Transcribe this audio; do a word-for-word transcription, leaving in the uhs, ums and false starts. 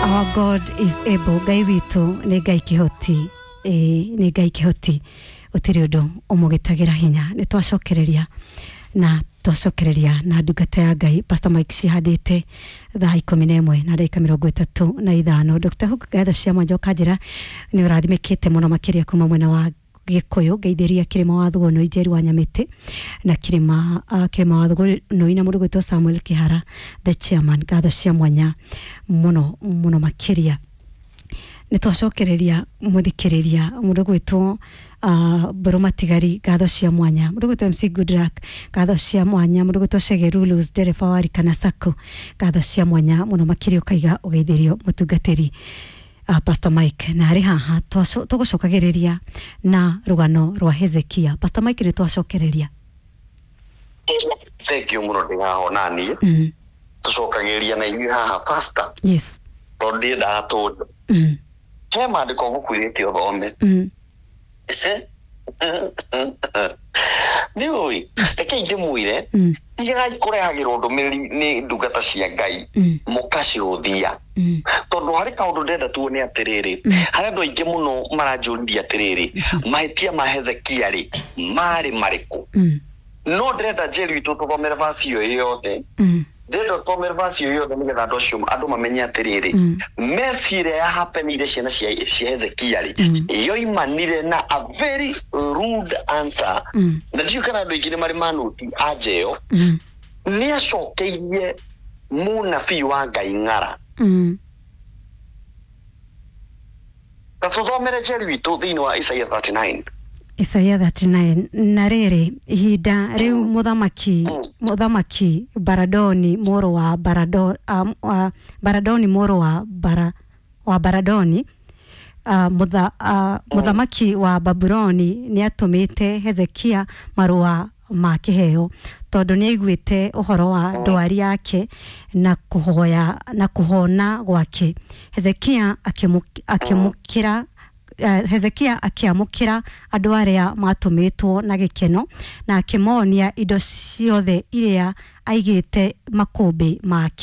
Our God is able. Ngai witũ nĩ Ngai kĩhoti, ĩĩ nĩ Ngai kĩhoti, gũtirĩ ũndũ ũmũgĩtagĩra hinya. Nĩ twacokereria na twacokereria na ndungata ya Ngai Pastor Mike cihandĩte thaa ikũmi na ĩmwe na ndagĩka mĩrongo ĩtatũ na ithano. Doctor Hook, ngatho cia mwanja, ũkanjĩra nĩ ũrathimĩkĩte mũno makĩria kuma mwena wa Gĩkũyũ. Ngeithĩria Kĩrĩma wa Thugono, Njeri wa Nyamĩtĩ na Kĩrĩma uh, Kĩrĩma wa Thugonoi na mũndũ gwĩtwo Samuel Kĩhara the chairman, ngatho cia mwanya mũno mũno makĩria. Nĩ twacokereria mũthikĩrĩria mũndũ gwĩtwo uh, Mbũrũ Matigari, ngatho cia mwanya. Mũndũ gwĩtwo M C Goodluck, ngatho cia mwanya. Mũndũ gwĩtwo Shegerulus, ndereba wa Rikana Sacco, ngatho cia mwanya mũno makĩria. Ũkaiga ũgeithĩrio mũtungatĩri uh, Pastor Mike na arĩ haha. twaco- tũgũcokagĩrĩria na rũgano rwa Hezekia. Pastor Mike, nĩ twacokereria. Thank you mũno, ndĩngahona niĩ. mm. Tũcokagĩria na inyuĩ haha, pastor, yes tondũ ndiendaga tũndũ. mm. He maandĩko ngũkwĩrĩte ũthome. Mm. Nĩ ũĩ, reke ingĩmwĩre, Mm. tigai kũrehagĩrwo ndũmĩrĩri nĩ ndungata cia Ngai Mm. mũkacihũthia, Mm. tondũ harĩ kaũndũ ndĩrenda tuone atĩrĩrĩ. Harĩ andũ aingĩ mũno maranjũririe atĩrĩrĩ, mahĩtia ma Hezekia rĩ, marĩ marĩkũ? Mm. No ndĩrenda Njeri witũ tũthomere vasi ĩyo yothe. Mm. Ndĩrenda tũthomere vasi ĩyo yothe nĩgetha andũ acio, andũ mamenye atĩrĩrĩ, Mm. mesi ĩrĩa yahapenire ciana cia cia Hezekia rĩ, Mm. yoimanire na a very rude answer. Mm. Na ndiũĩ kana andũ aingĩ nĩ marĩ manoti anja ĩyo. Mm. Nĩ acokeirie mũnabii wa Ngai ng'ara. Mm. Ta tũthomere, Njeri witũ, thĩinĩ wa Isaia mĩrongo ĩtatũ na kenda. Isaia mĩrongo ĩtatũ na kenda. Na rĩrĩ, ihinda rĩu mũthamaki Mm. mũthamaki Baradoni mũrũ wa Barado, um, uh, Baradoni mũrũ wa Bara, wa Baradoni, uh, mũtha, uh, mũthamaki wa Babuloni nĩ atũmĩte Hezekia marũa ma kĩheo, tondũ nĩ aiguĩte ũhoro wa ndwari yake na kũhoya na kũhona gwake. Hezekia akĩmũ- akĩmũkĩra eh, Hezekia akĩamũkĩra andũ arĩa matũmĩtwo na gĩkeno na akĩmonia indo ciothe iria aigĩte makũmbĩ make.